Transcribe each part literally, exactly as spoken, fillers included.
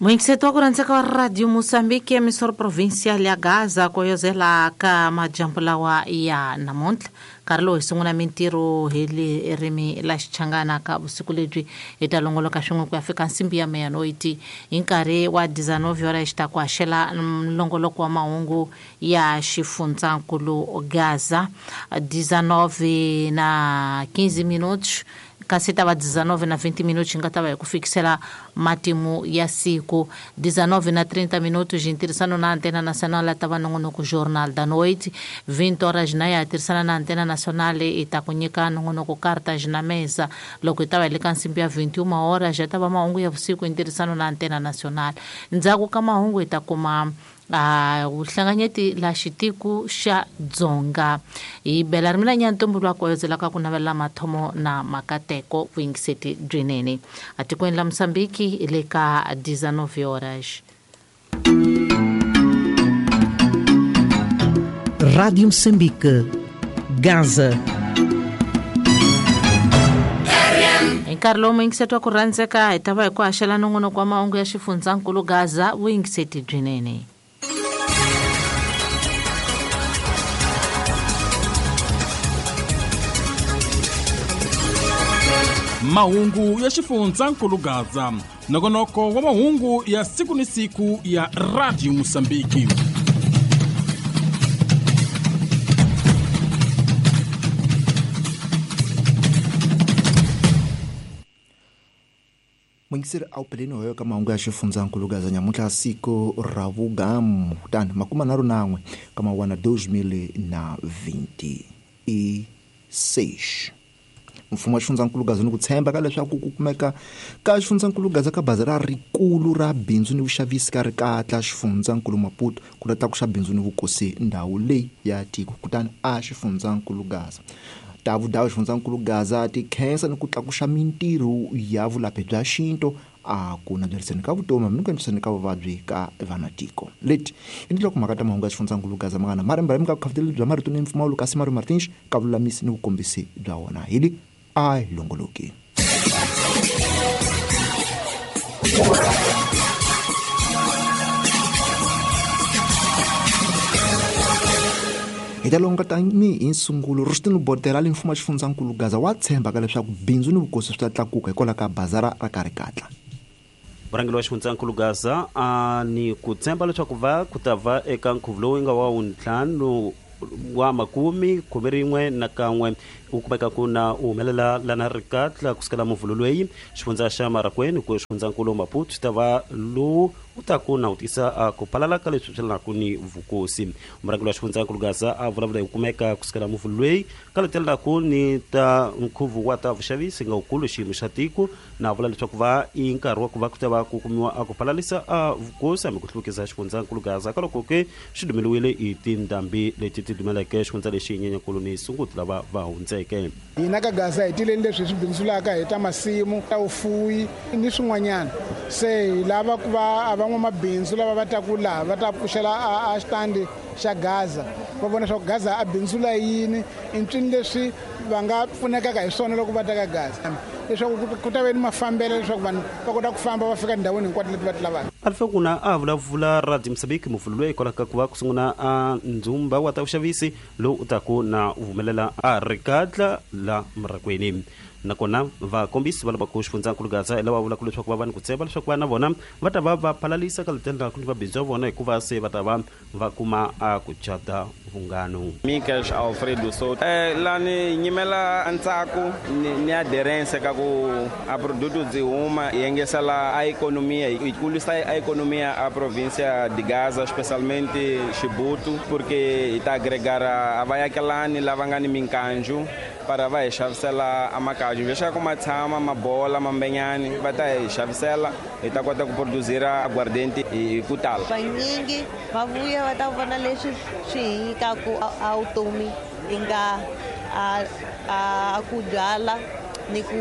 Muyingiseti wa ku rhandzeka wa Radio Mozambique, emissora provincial ya Gaza, ku yozela ka majambu lawa ya namuntlha. Nkarhi lowu hi sungula mintirho hi ririmi la Xichangana ka vusiku lebyi hi ta longoloka swin'we ku ya fika nsimbi ya meyanoiti hi nkarhi wa dezenove horas ta ku haxela nlongoloko wa mahungu ya xifundzankulu Gaza dezenove na quinze minutos kasi ta va dezenove na vinte minutos nga ta va hi ku fikisela matimu ya siku dezenove na trinta minutos hi ntirhisano na Antena Nacional ta va nongonoko Jornal da Noite vinte horas na ya tirhisana na Antena Nacional i ta ku nyika nongonoko Cartas na Mesa loko hi ta va hi le ka nsimbi ya vinte e uma horas ya ta va mahungu ya vusiku hi ntirhisano na Antena Nacional. Ndzhaku ka mahungu hi ta kuma a vuhlanganyeti la xitiku xa Dzonga hi bela ri mina Nyantombo lwa ku ka ku navela mathomo na makateko vuyingiseti byinene atikweni la Mozambique hi le ka dezenove horas. Rádio Moçambique, Gaza. Hi nkarhi lowu muyingiseti wa ku rhandzeka hi ta va hi ku haxela nongonoko wa mahungu ya xifundzankulu Gaza vuyingiseti byinene. Mahungu ya xifundzankulu Gaza, nongonoko wa mahungu ya siku ni siku ya Radio Mozambique. Muyingiseri a wu peleni hoyo ka mahungu ya xifundzankulu Gaza nyamuntlha siku ra vugamu kutani makuma nharhu nan'we ka mawana dois mil na vinte e seis. Mfumo wa xifundzankulu Gaza ni ku tshemba ka leswaku ku kumeka ka xifundzankulu Gaza ka bazi ra rikulu ra bindzu ni vuxavisi ka rikatla xifundzankulu Maputo ku ta tlakusa bindzu ni vukosi ndhawu leyi ya tiko kutani a xifundzankulu Gaza. Ta vudawu xifundzankulu Gaza ti khensa ni ku tlakusa mintirho ya vulaphi bya xinto a ku naveriseni ka vutomi hambi ni ku endliseni ka vuvabyi ka vanatiko. Leti i ndloko mhaka ta mahungu ya xifundzankulu Gaza mangana maremba ka vukhafuteleli bya marito ni mpfumawulo kasi Mario Martins ka vululamisi ni vukombisi bya wona hi li a hi longoloki. Hi ta longa tanihi hi nsungulo Rustin Botela le mfumo wa xifundzankulu Gaza wa tshemba ka leswaku bindzu ni vukosi swi ta tlakuka hikwalaho ka bazara ra ka rikatla. Varhangeri wa xifundzankulu Gaza a ni ku tshemba leswaku va ku ta va eka nkhuvo lowu nga wa wuntlhanu wa makumi khume rin'we na kan'we u kumeka ku na u humelela lana rikatla kusukela muvhulo loyi xifundza xa Marakweni ku xifundzankulu Maputo xi ta va lowu u ta ku na u tisa a ku phalala ka leswi swi lanaku ni vukosi. Murhangeri wa xifundzankulu Gaza a vulavula hi ku kumeka kusukela muvhulo loyi ka letelelaku ni ta nkhuvo wa ta vuxavisi nga wukulu xiyimo xa tiko na vula leswaku va i nkarhi wa ku va ku ta va ku kumiwa a ku phalalisa a vukosi hambi ku hluvukisa xifundzankulu Gaza ka loko ke xi dumeliwile hi tindhambi leti ti dumeleke xifundza lexi Nyenyankulu ni Sunguti lava va hundzeke. Hina ka Gaza hi tileni leswi hi swi bindzulaka hi ta masimu ta vufuwi ni swin'wanyana se hi lava ku va van'wamabindzu lava va taku laha va ta pfuxela a xitandi xa Gaza va vona swa ku Gaza a bindzula yini i ncini leswi va nga pfunekaka hi swona loko va ta ka Gaza leswaku ku ta ve ni mafambelo leswaku vanhu va kota ku famba va fika ndhawini hinkwato leti va ti lavaka. Alifekuna a vulavula Radio Mozambique muvhulo loyi hikwalaho ka ku va ku sungula a ndzumba wa ta vuxavisi lowu u taku na u humelela a rikatla la Marakweni. Nakona vakombisi va lava ku xifundzankulu Gaza hi lava vulaka leswaku va va ni ku tshemba leswaku vana vona va ta va va phalalisa ka letelelaku ni vabindzu va vona hikuva se va ta va va kuma a ku cata vunghano. Michael Alfredo Soto eh lani nyimela ntsako ni, ni aderência ka ku a produto byi huma yi engesela a economia yi kulisa a economia a província de Gaza especialmente Chibuto porque hi ta agregar a vayakelani lava nga ni minkanju para va hi xavisela a makaju leswaku ma tshama mabola mambenyani va ta hi xavisela hi ta kota ku produzira aguardente hi ku tala. Vanyingi va vuya va ta vona leswi swi hi nyikaku a vutomi i nga a a ku byala ni ku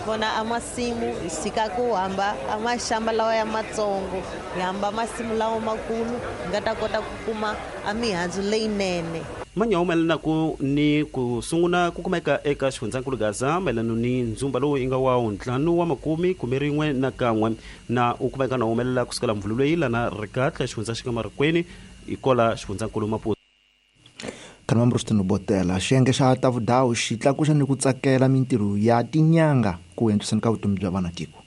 vona a masimu hi sika ku hamba a maxamba lawa ya matsongo hi hamba masimu lawa makulu hi nga ta kota ku kuma a mihandzu leyinene. Manya humelela ku ni ku sungula ku kumeka eka xifundzankulu Gaza mayelana ni ndzumba lowu yi nga wa ntlhanu wa makumi khume rin'we na kan'we na u kumeka na humelela kusukela mvhulu leyi lana rikatla xifundza xi nga Marikweni ikola xifundzankulu Maputo. Kanambrustino Botela xiyenge xa ta vudawu xi tlakuxa ni ku tsakela mintirho ya tinyanga ku endliseni ka vutomi bya vana tiko.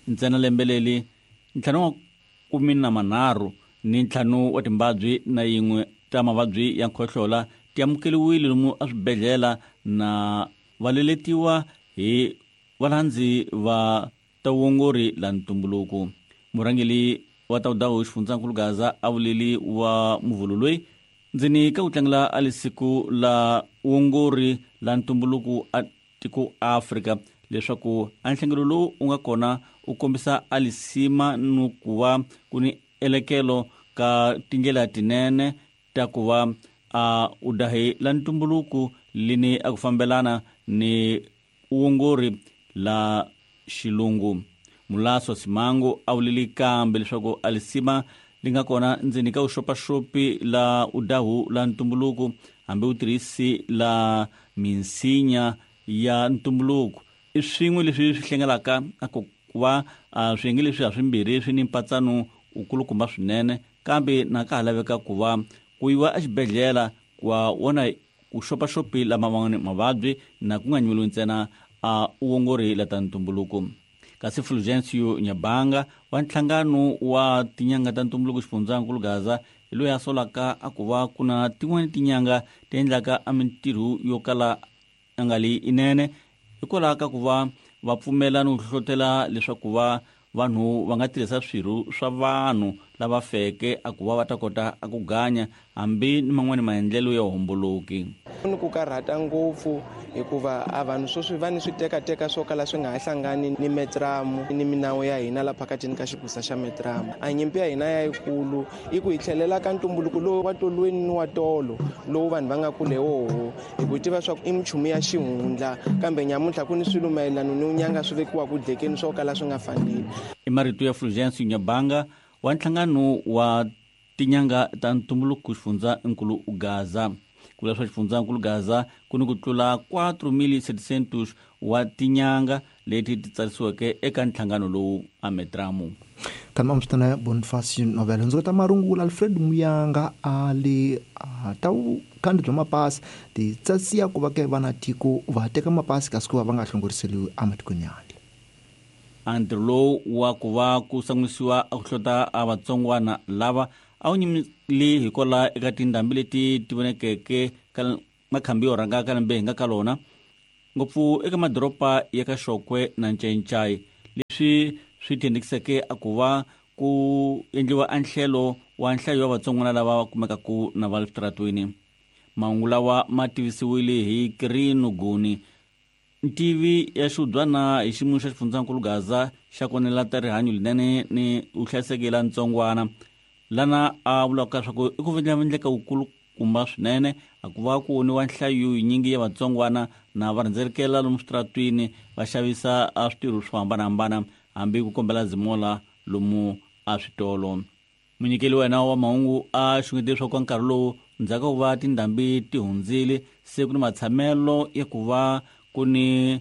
Ntsena lembe leri ntlhanu wa kumi na manharhu ni ntlhanu wa timbabyi na yin'we ta mavabyi ya nkhohlola ti amukeriwile lomu eswibedhlele na valeletiwa hi valandzi va tawongori la ntumbuluko. Murhangeri wa ta vudawu xifundzankulu Gaza a vuleli wa muvhulu loyi ndzeni ka ku tlangela a lisiku la wongori la ntumbuluko a tiko Afrika leswaku a nhlengelo lowu u nga kona u kombisa a lisima ni ku va ku ni elekelo ka tindlela tinene ta ku va a udahi la ntumbuluko lini a ku fambelana ni wongori la xilungu. Mulaso Simango a vuleli kambe leswaku a lisima li nga kona ndzeni ka vuxopaxopi la udahu la ntumbuluko hambi u tirhisi la minsinya ya ntumbuluko i swin'we leswi swi hlengelaka a ku va swiyenge leswi ha swimbirhi swi ni mpatsano wu kulukumba swinene kambe na ka ha laveka ku va ku yiwa exibedhlele ku va wona ku xopaxopi lama man'wani mavabyi na ku nga nyimeliwi ntsena a uongori la ta ntumbuluko. Kasi Fulgencio Nyabanga wa nhlangano wa tinyanga ta ntumbuluko xifundzankulu Gaza hi loyi a solaka a ku va ku na tin'wani tinyanga ti endlaka a mintirho yo kala a nga li inene hikwalaho ka ku va va pfumela no hlohlotela leswaku va vanhu va nga tirhisa swirho swa vanhu lava feke a ku va va ta kota a ku ganya hambi ni man'wani maendlelo ya homboloki. Ni ku karhata ngopfu hikuva a vanhu sweswi va ni switekateka swo kala swi nga ha hlangani ni metramu ni minawu ya hina la phakatini ka xigusa xa metramu. A nyimpi ya hina ya yikulu i ku hi tlhelela ka ntumbuluko lowu wa tolweni ni wa tolo lowu vanhu va nga kule woho hi ku tiva swa ku i minchumu ya xihundla kambe nyamuntlha ku ni swilo mayelana ni unyanga swi vekiwa ku dlekeni swo kala swi nga faneli. I marito ya Fulgencio Nyabanga wa nhlangano wa tinyanga ta ntumbuluko xifundzankulu Gaza. Ku vula swa xifundzankulu Gaza ku ni ku tlula quatro mil setecentos wa tinyanga leti ti tsarisiweke eka nhlangano lowu a metramu. Kanma msitana Boniface Novela ndzi ta marungula Alfred Muyanga a le ta kandi bya mapasi ti tsasiya ku va ke vana tiko va teka mapasi kasi ku va va nga hlongoriseliwi ematikweni ya handle. A ntirho lowu wa ku va ku sangwisiwa a ku hlota a vatsongwana lava a wu nyimile hikwalaho eka tindhambi leti ti vonekeke ka makhambi yo rhanga ka lembe hi nga ka lona ngopfu eka madoroba ya ka Xokwe na Ncencai leswi swi thendekiseke a ku va ku endliwa a nhlelo wa nhlayo ya vatsongwana lava kumekaku na va le switaratweni. Mahungu lawa ma tivisiwile hi Kirino Guni ntivi ya xiudyana hi xiyimo xa xifundzankulu Gaza xa konela ta rihanyo linene ni vuhlayiseki la ntsongwana lana a vulaka leswaku i ku vindlavindleka wukulukumba swinene a ku va ku woniwa nhlayo yinyingi ya vatsongwana na va rhendzelekela lomu switaratwini va xavisa a switirho swo hambanahambana hambi ku kombela zimola lomu a switolo. Munyikeli wa yena wa mahungu a xungete leswaku ka nkarhi lowu ndzhaku ka ku va tindhambi ti hundzile se ku ni matshamelo ya ku va ku ni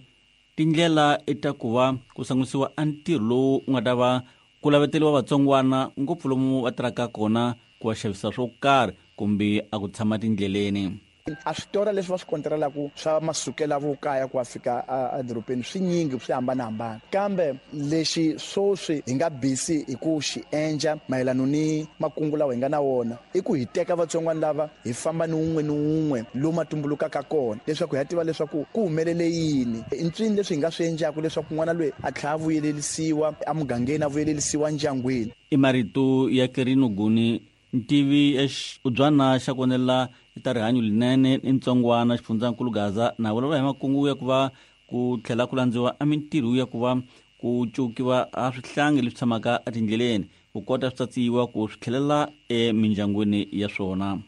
tindlela ta ku va ku sangwisiwa a ntirho lowu u nga ta va ku laveteriwa vatsongwana ngopfu lomu va tirhaka kona ku va xavisa swo karhi kumbe a ku tshama tindleleni. A switora leswi va swi kontirelaku swa masukela vukaya ku ya fika edorobeni swi nyingi swi hambanahambana kambe lexi swoswi hi nga busy hi ku xi endla mayelana ni makungu lawa hi nga na wona i ku hi teka vatsongwana lava hi famba ni wun'we ni wun'we lomu tumbulukaka kona leswaku hi ya tiva leswaku ku humelele yini i ntswini leswi hi nga swi endlaku leswaku n'wana loyi a tlhela a vuyelelisiwa emugangeni a vuyelelisiwa ndyangwini. I marito ya Kirino Guni ntivi ya xiudyana xa konela ta rihanyo linene ni ntsongwana xifundzankulu Gaza na vulavula hi makungu ya ku va ku tlhela ku landziwa a mintirho ya ku va ku cukiwa a swihlangi leswi tshamaka etindleleni ku kota swi tsatsiwa ku swi tlhelela emindyangwini ya swona.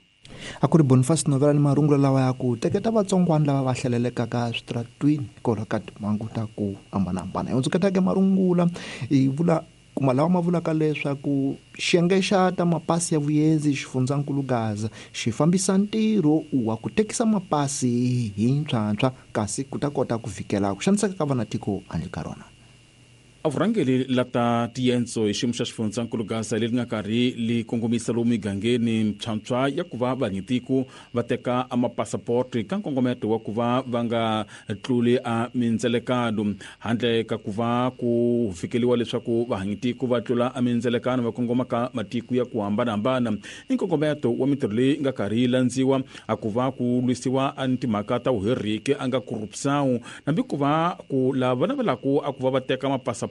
A ku ri Boniface Novela ni marungulo lawa ya ku teketa vatsongwana lava va hlelelekaka switratwini hikwalaho ka timhangu ta ku hambanahambana. Hi hundzuketaka marungula hi vula kuma lawa ma vulaka leswaku xiyenge xa ta mapasi ya vuyenzi xifundzankulu Gaza xi fambisa ntirho wa ku tekisa mapasi hi ntshwantshwa kasi ku ta kota ku vhikela ku xaniseka ka vanatiko handle ka rona. A vurhangeri la ta tiyendzo hi xiyimo xa xifundzankulu Gaza leri nga karhi li kongomisa lomu migangeni ntshwantshwa ya ku va vanyitiko va teka a mapasapoti ka nkongometo wa ku va va nga tluli a mindzelekano handle ka ku va ku fikeliwa leswaku vahanyitiko va tlula a mindzelekano va kongoma ka matiko ya ku hambanahambana. I nkongometo wa mintirho leyi nga karhi yi landziwa a ku va ku lwisiwa a timhaka ta vuheriki a nga corruption hambi ku va ku lava navelaka a ku va va teka mapasapoti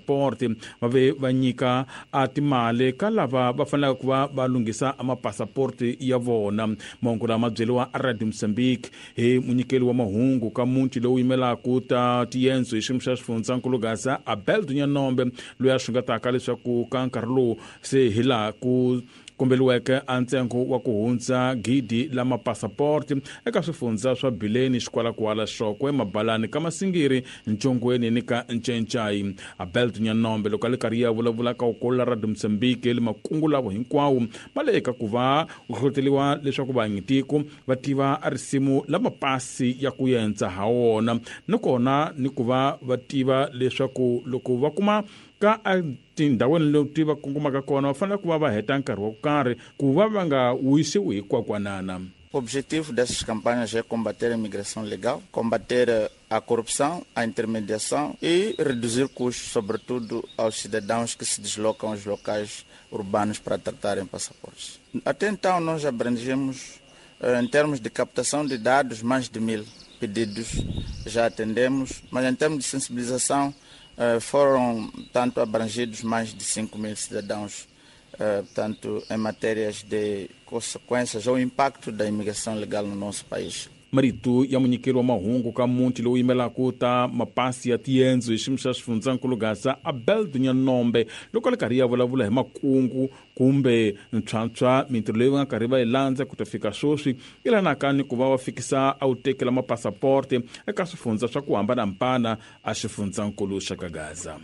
va ve va nyika a timali ka lava va fanelaka ku va va lunghisa mapasapoti ya vona. Mahungu lama byeriwa a Radio Mozambique hi munyikeli wa mahungu ka muti lowu yimelaka ta tiyendzo hi xiyimo xa xifundzankulu Gaza Abel Dunyanombe loyi a xungetaka leswaku ka nkarhi lowu se hi laha ku kombeliweke a ntsengo wa ku hundza gidi la mapasapoti eka swifundza swa Bileni, Xikwalakwala, Xokwe, Mabalani ka Masingiri, Ntshongweni ni ka Ncencai. Abel Dunyanombe loko a le karhi ya vulavula ka ukolo la Radio Mozambique le makungu lavo hinkwawo ma le eka ku va ku hlohloteliwa leswaku vahanyitiko va tiva a risimu la mapasi ya ku yendza ha wona nakona ni ku va va tiva leswaku loko va kuma ka tindhawini leti va kongomaka kona va fanele ku va va heta nkarhi wo karhi ku va va nga wisiwi hi kwakwanana. O objetivo dessas campanhas é combater a imigração legal, combater a corrupção, a intermediação e reduzir custos, sobretudo aos cidadãos que se deslocam aos locais urbanos para tratarem passaportes. Até então nós abrangemos, em termos de captação de dados, mais de mil pedidos já atendemos, mas em termos de sensibilização foram tanto abrangidos mais de cinco mil cidadãos, tanto em matérias de consequências ou impacto da imigração legal no nosso país. Marito ya munyikeri wa mahungu ka muti lowu yimelaka ta mapasi ya tiyendzo hi xiyimo xa xifundzankulu Gaza Abel Dunyanombe loko a le karhi ya vulavula hi makungu kumbe ntshwantshwa mintirho leyi va nga karhi va yi landza ku ta fika sweswi yi lanaka ni ku va va fikisa a wu tekela mapasaporte eka swifundza swa ku hambanahambana a xifundzankulu xa ka Gaza.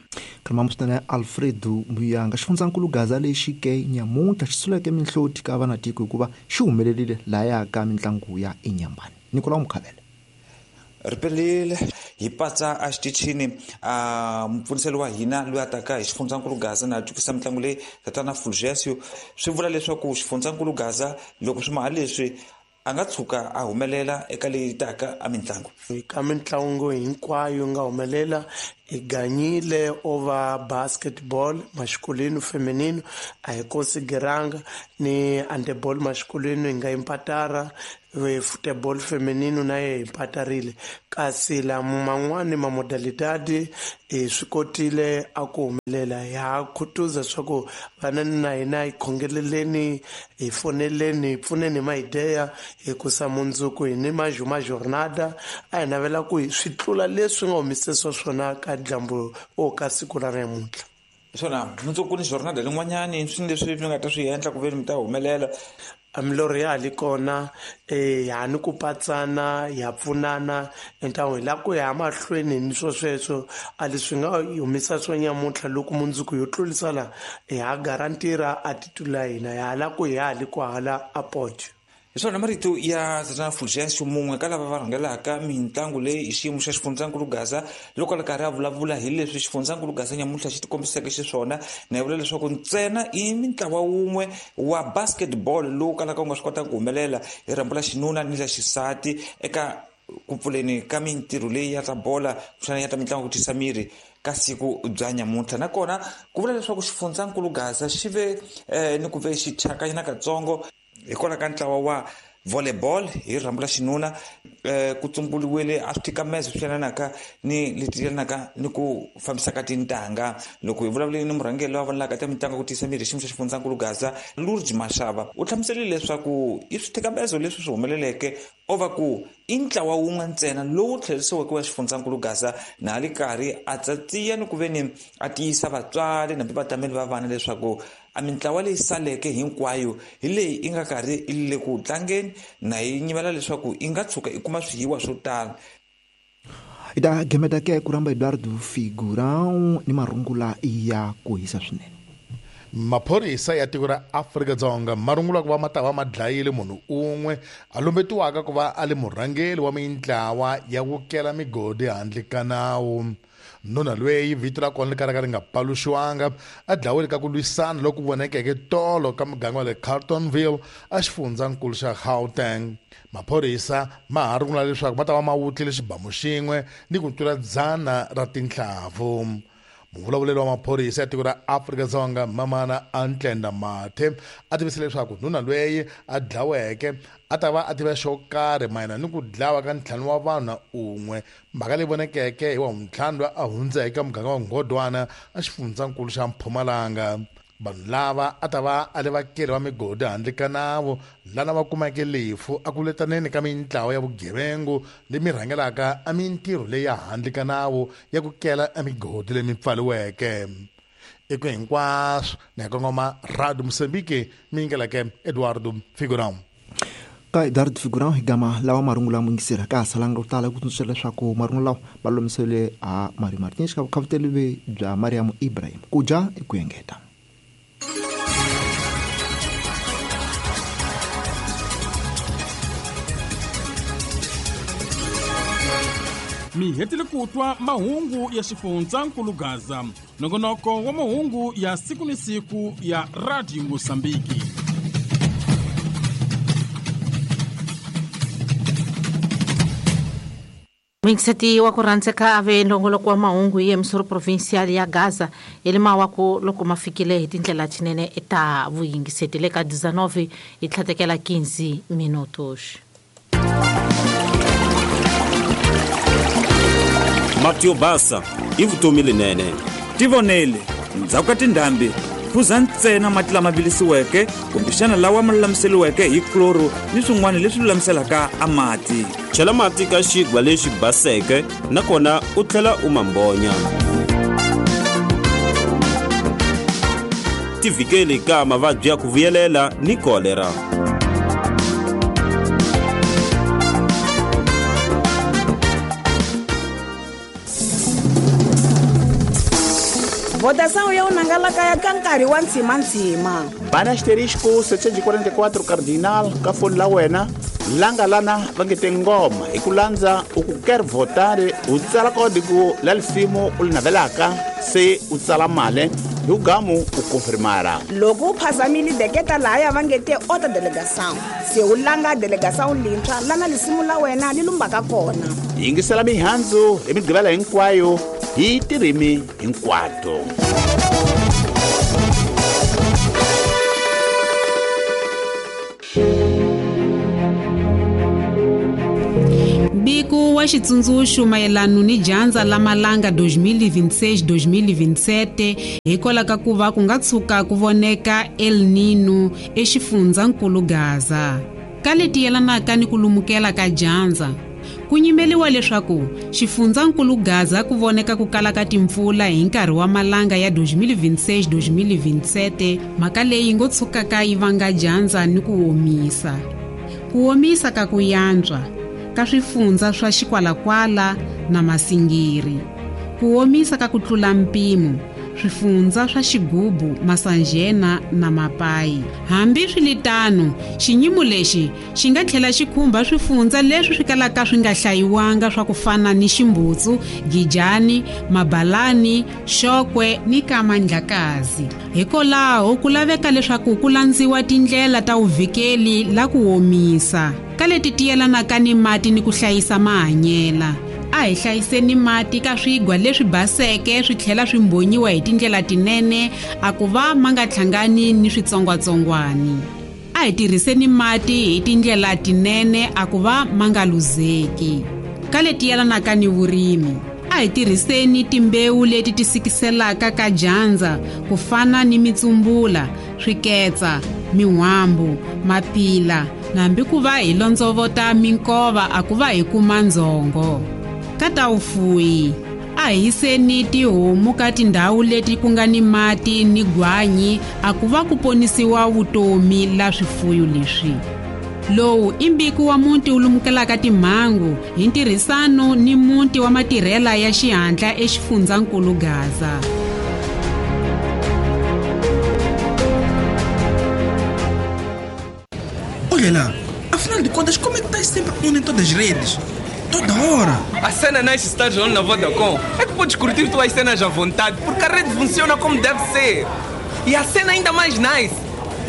Kamamusana Alfredo Muyanga xifundzankulu Gaza lexi ke nyamuntlha xi suleke minhloti ka vanatiko hikuva xi humelerile laya ka mintlangu ya Inyambani. Nicolau Mukhavele. Ripelile hi patsa a xitichini a mupfuniseli wa hina loyi a taka hi xifundzankulu Gaza na twisisa mitlangu leyi tatana Fulgencio swi vula leswaku xifundzankulu Gaza loko swi maha leswi a nga tshuka a humelela eka leyi taka a mitlangu. Ka mitlangu hinkwayo nga humelela hi ganyile over basketball masculino feminino a hi konsideranga ni handball masculino hi nga impatara football feminino na ye impatarile kasi la man'wani ma modalidade hi swi kotile a ku humelela. Ha khutuza swa ku vana na hina hi khongeleleni hi foneleni hi pfuneni hi maideya hikusa mundzuku hi ni majuma jornada a hi navela ku swi tlula leswi nga humesisiwa swona ka dyambu o ka siku ra namuntlha. Swona mundzuku ni jornada lin'wanyani swi leswi mi nga ta swi endla ku ve mi ta humelela. Milorho ya ha li kona eh ha ni ku patsana ya pfunana entan'wini hi lava ku ya mahlweni ni swo sweswo a leswi nga humesa swo nyamuntlha loko mundzuku yo tlurisa la ha garantira a titula hina ya lava ku hi ha li kwahala a podio. Hi swona marito ya tatana Fulgencio mun'we ka lava va rhangelaka mitlangu leyi hi xiyimo xa xifundzankulu Gaza loko a ri karhi a vulavula hi leswi xifundzankulu Gaza nyamuntlha xi tikombiseke xiswona na vula leswaku ntsena i mintlawa wun'we wa basketball lowu kalaka wu nga swi kotaka ku humelela hi rhambu la xinuna ni la xisati eka ku pfuleni ka mintirho leyi ya ta bola kuxana ya ta mitlangu ku tisa miri ka siku bya nyamuntlha. Nakona ku vula leswaku xifundzankulu Gaza xi ve eh, ni ku ve xi thyakanyana katsongo hikwalaho ka ntlawa wa volleyball hi rhambu la xinuna eh, ku tsumburiwile a switikamezo swi yelanaka ni leti yelanaka ni ku fambisa ka tintangha. Loko hi vulavuleni ni murhangeri loyi a vonelaka ta mitlangu ku tiyisa miri xiyimo xa xifundzankulu Gaza Lourdes Mashava u hlamuserile leswaku i switikamezo leswi swi humeleleke o va ku i ntlawa wun'we ntsena lowu tlherisiweke wa xifundzankulu Gaza na a li karhi a tsatsiya ni ku ve ni a tiyisa vatswari nambi vatameli va vana leswaku A mintlawa leyi saleke hinkwayo hi leyi i nga karhi i le ku tlangeni na yi nyimela leswaku i nga tshuka i kuma swihiwa swo tala. I ta gemeta ke ku rhamba Eduardo Figurão ni marungula ya ku hisa swinene. Maphorisa ya tiko ra Afrika-Dzonga ma rungula ku va ma ta va ma dlayile munhu un'we a lumbetiwaka ku va a li murhangeri wa mintlawa ya ku kela migodi handle ka nawu. Nuna lweyi vito ra kona ri karhi ri nga paluxiwanga a dlawile ka ku lwisana loku vonekeke tolo ka muganga wa le Carltonville a xifundzankulu xa Gauteng. Maphorisa ma ha rungula leswaku va ta va ma wutlile xibamu xin'we ni ku tlula dzana ra tinhlavu. Muvulavuleri wa maphorisa ya tiko ra Afrika-Dzonga Mamana Antlenda Mathe a tivise leswaku nuna lweyi a dlaweke a ta va a tiva xo karhi mayelana ni ku dlawa ka ntlhanu wa vanhu na un'we, mhaka leyi vonekeke hi wa ntlhanu loyi a hundzeke ka muganga wa Ngodwana a xifundzankulu xa Mpumalanga. Vanhu lava a ta va a le vakeli va migodi handle ka nawu lana va kumeke lefu a ku letaneni ka mintlawa ya vugevengu leyi rhangelaka a mintirho leyi ya handle ka nawu ya ku kela emigodi leyi mi pfaliweke. Eku hinkwaswo ni ya kongoma Radio Mozambique mi yingeleke Eduardo Figurão. Ka Eduardo Figurão hi gama lawa marungula muyingiseri ka ha salanga ku tala ku tsundzuxa leswaku marungula lawa va lulamisele a Mario Martins ka vukhavuteli bya Mariam Ibrahim. Ku dya i ku engeta. Mi hetile ku twa mahungu ya xifundzankulu Gaza, nongonoko wa mahungu ya siku ni siku ya Radio Mozambique. Muyingiseti wa ku rhandzeka a ve nongoloko wa mahungu hi emisoro provincial ya Gaza elima wa ku loko ma fikile hi tindlela tinene ta vuyingiseti le ka dezenove hi tlhatekela quinze minutos. Mati yo basa i vutomi lenene. Tivonele ndzhaku ka tindhambi phuza ntsena mati lama vilisiweke kumbexana lawa ma lulamiseriweke hi chloro ni swin'wana leswi lulamiselaka a mati. Chela mati ka xigwa lexi baseke nakona u tlhela u mambonya. Tivikeli ka mavabyi ya ku vuyelela ni kolera. Votação ya unangalaka ya ka nkarhi wa ntshimantsima. Bana asterisco setecentos e quarenta e quatro cardinal ka foni la wena langa lana va nge te ngoma hi ku landza u ku quer votar u tsala código la lisimu u li navelaka se u tsala mali hi ku gamu u confirmara. Loko u phazamile deketa lahaya va nge te outra delegação se u langa delegação lintshwa lana lisimu la wena li lumbaka kona. Yingisela mihandzu hi migqivela hinkwayo hi tirimi hinkwato. Mbiko wa xitsundzuxo mayelana ni dyandza la malanga dois mil e vinte e seis dois mil e vinte e sete hikwalaho ka ku va ku nga tshuka ku voneka El Nino exifundzankulu Gaza. Ka leti yelanaka ni ku lumukela ka dyandza, ku nyimeliwa leswaku xifundzankulu Gaza ku voneka ku kala ka timpfula hi nkarhi wa malanga ya dois mil e vinte e seis dois mil e vinte e sete, mhaka leyi ngo tshukaka yi vanga dyandza ni ku omisa. Ku omisa ka ku yantswa ka swifundza swa Xikwalakwala na Masingiri. Ku omisa ka ku tlula mpimo swifundza swa Xigubu, Masanjena na Mapai. Hambi swiritano, xinyimo lexi xi nga tlhela xi khumba swifundza leswi swi kalaka swi nga hlayiwanga swa ku fana ni Ximbutsu, Gijani, Mabalani, Xokwe ni Kamandlakazi. Hikwalaho ku laveka leswaku ku landziwa tindlela ta vuvikeli la ku omisa ka leti ti yelanaka ni mati ni ku hlayisa mahanyela. A hi hlayiseni mati ka swigwa leswi baseke swi tlhela swi mbonyiwa hi tindlela tinene a ku va ma nga hlangani ni switsongwatsongwani. A hi tirhiseni mati hi tindlela tinene a ku va ma nga luzeki. Ka leti yelanaka ni vurimi, a hi tirhiseni timbewu leti ti sikiselaka ka dyandza ku fana ni mitsumbula, swiketsa, min'wambu, mapila, nambi ku va hi londzovota minkova a ku va hi kuma ndzhongo. Ka ta vufuwi, a A hi yiseni tihomu ka tindhawu leti ku nga ni mati ni gwanyi a ku va ku ponisiwa vutomi la swifuyo leswi. Lowu i mbiko wa muti wu lumukelaka timhangu hi ntirhisano ni muti wa matirhela ya xihatla eXifundzankulu Gaza. Olha lá, afinal de contas, como é que estás sempre on em todas as redes? Toda hora! A cena nice estás on na Vodacom é que podes curtir tuas cenas à vontade, porque a rede funciona como deve ser. E a cena ainda mais nice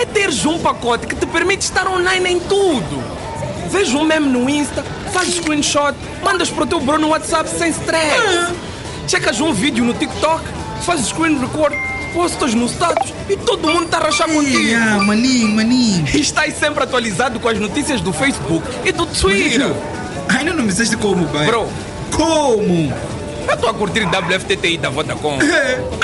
é teres um pacote que te permite estar online em tudo. Vês um meme no Insta, fazes screenshot, mandas para o teu bro no WhatsApp sem stress. Ah. Checas um vídeo no TikTok, fazes screen record, postas no status e todo mundo está a rachar contigo. Ah, maninho, maninho. E estás sempre atualizado com as notícias do Facebook e do Twitter. Ainda não me disseste como, pai. Bro. Como? Eu estou a curtir W F T T I da Vodacom.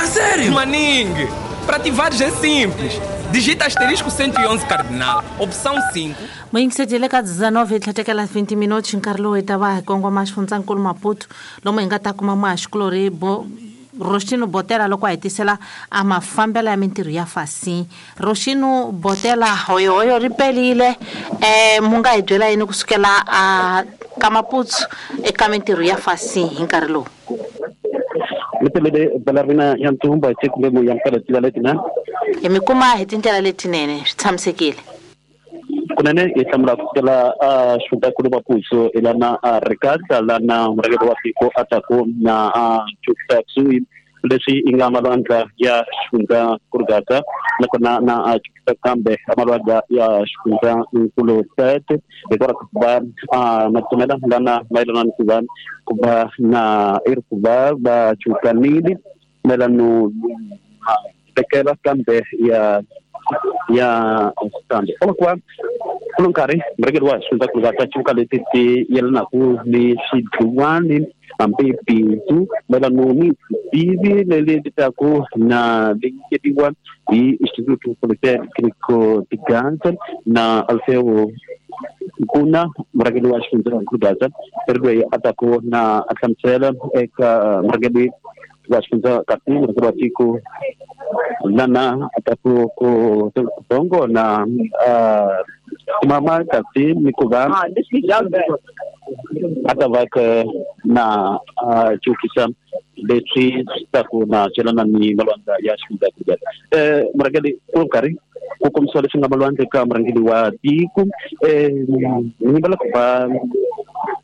A sério? Maningue, para ativares é simples. Digita asterisco cento e onze cardinal, opção cinco. Muyingisedile ka dezenove hi tlhatekela vinte minutos nkarhi lowu hi ta va hi kongoma xifundzankulu Maputo lomu hi nga ta kuma muhaxikulorhi bo Roxino Botela loko a hi tisela a mafambelo ya mintirho ya fasi. Roxino Botela hoyohoyo ri pelile um mu nga hi byela yini kusukela a ka Maputo eka mintirho ya fasi hi nkarhi lowu? Mitelele balarina ya ntumba hi kumbe mu yamukela tindlela letinene. Hi mi kuma hi tindlela letinene swi tshamisekile. Kunene hi hlamula kusukela a xifundzankulu Maputo lana a Ricasa lana murhangeri wa tiko a taku na a chukisa kusuhi leswi i nga malwandla ya xifundzankulu Gaza nakona na a chukisa kambe malwandla ya xifundzankulu Tete hikwalaho ka ku va a matsomela lana mayelana ni ku va ku va na i ri ku va va chukanile mayelano tekela kambe ya ya kambe kwa kulo nkarhi murhangeri wa xifundzankulu Gaza chuka leti ti yelanaku ni swidluwani hambi bindzu mayelano ni tivi leri taku na leyiwa hi Instituto Politécnico de Gaza na Alfeo Kuna murhangeri wa xifundzankulu Gaza ri loyi a taku na a hlamusela eka murhangeri wa xifundzankulu murhangeri wa tiko lana a taku ku bongo na mama kasi ni ku va a ta va ka na chukisa leswi taku na celana ni malwandla ya xifundzankulu Gaza. Eh murhangeri ku nkarhi ku kombisiwa leswi nga malwandla eka murhangeri wa tiko eh ni vula ku va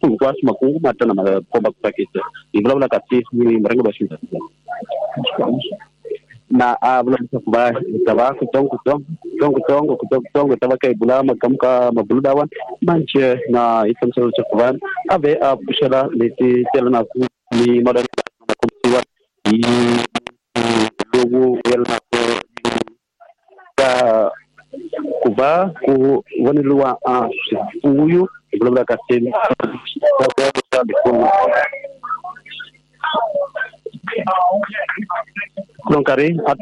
hinkwaswo makungu ma tana ma komba ku tsakisa hi vulavula kasi ni murhangeri wa xifundzankulu na a vula leswaku va ta va kutsongo kutsongo kutsongo kutsongo ta va ka hi bula makamu ka mabulu lawa manjhe na hi hlamusela leswaku va a ve a pfuxela leti telanaku ni malwandla ma kombisiwa hi lowu yelanaku ka ku va ku voneriwa a swifuyo hi vulavula kasi kulo nkarhi a